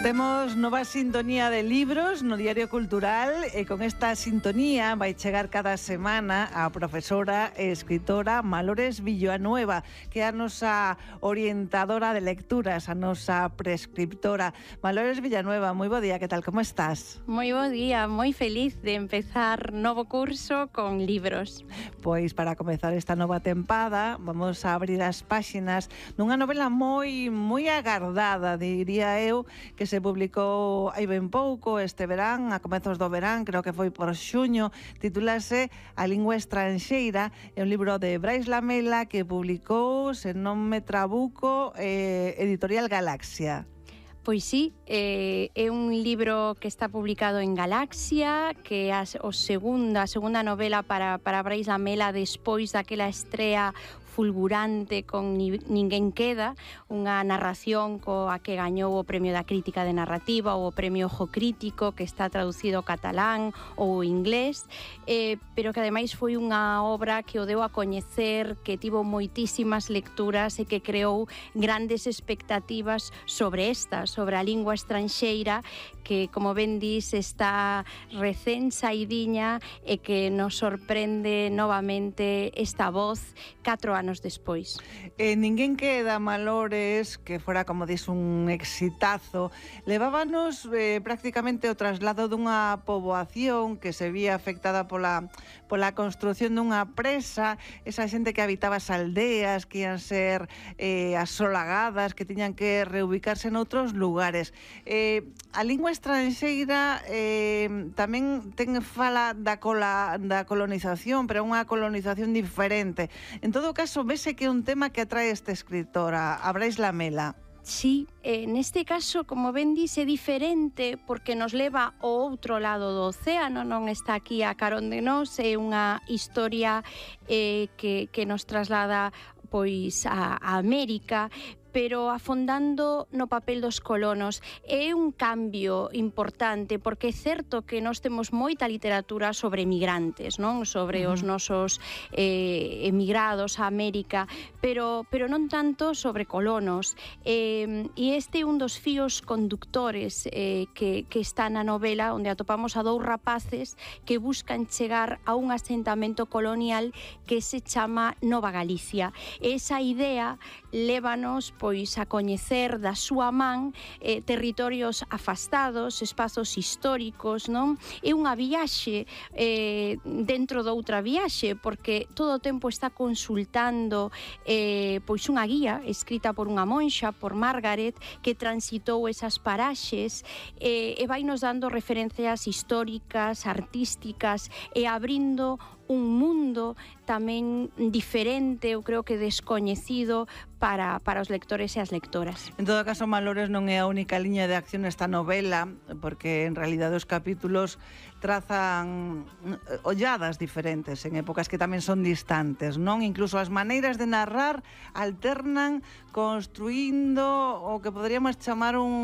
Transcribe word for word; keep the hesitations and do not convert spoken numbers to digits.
Temos nova sintonía de libros no Diario Cultural e con esta sintonía vai chegar cada semana a profesora e escritora Malores Villanueva, que é a nosa orientadora de lecturas, a nosa prescriptora. Malores Villanueva, moi bo día, que tal, como estás? Moi bo día, moi feliz de empezar novo curso con libros. Pois para comezar esta nova tempada vamos a abrir as páxinas dunha novela moi moi agardada, diría eu, que se publicou hai ben pouco este verán, a comezos do verán, creo que foi por xuño, titúlase A lingua estranxeira, é un libro de Brais Lamela que publicou, se non me trabuco, eh, Editorial Galaxia. Pois sí, eh, é un libro que está publicado en Galaxia, que é a, o segunda, a segunda novela para, para Brais Lamela despois daquela estrea fulgurante con Ninguén queda, unha narración coa que gañou o Premio da Crítica de Narrativa ou o Premio Ojo Crítico, que está traducido ao catalán ou ao inglés, eh, pero que ademais foi unha obra que o deu a coñecer, que tivo moitísimas lecturas e que creou grandes expectativas sobre esta, sobre a lingua estranxeira, que, como ben dis, está recén saidiña e que nos sorprende novamente esta voz catro anos despois. Eh, Ninguén queda, Malores, que fora, como dis, un exitazo, levábanos eh, prácticamente o traslado dunha poboación que se vía afectada pola, pola construción dunha presa, esa xente que habitaba as aldeas, que ian ser eh, asolagadas, que tiñan que reubicarse noutros lugares. Eh, a lingua estranxeira eh, tamén ten fala da, cola, da colonización, pero unha colonización diferente. En todo caso, vese que é un tema que atrae esta escritora, a Brais Lamela. Sí, eh, neste caso, como ben dice, é diferente porque nos leva ao outro lado do océano, non está aquí a carón de nós, é unha historia eh, que, que nos traslada pois a, a América, pero afondando no papel dos colonos. É un cambio importante, porque é certo que nós temos moita literatura sobre emigrantes, non? Sobre uh-huh. os nosos eh, emigrados a América, pero, pero non tanto sobre colonos. Eh, e este é un dos fíos conductores eh, que, que está na novela, onde atopamos a dous rapaces que buscan chegar a un asentamento colonial que se chama Nova Galicia. Esa idea lévanos pois a coñecer da súa man eh, territorios afastados, espazos históricos, non? É unha viaxe eh, dentro doutra viaxe, porque todo o tempo está consultando eh, pois unha guía escrita por unha monxa, por Margaret, que transitou esas paraxes eh, e vai nos dando referencias históricas, artísticas e abrindo un mundo tamén diferente, eu creo que descoñecido para, para os lectores e as lectoras. En todo caso, Malores non é a única liña de acción nesta novela, porque en realidade os capítulos trazan olladas diferentes en épocas que tamén son distantes, non? Incluso as maneiras de narrar alternan construindo o que poderíamos chamar un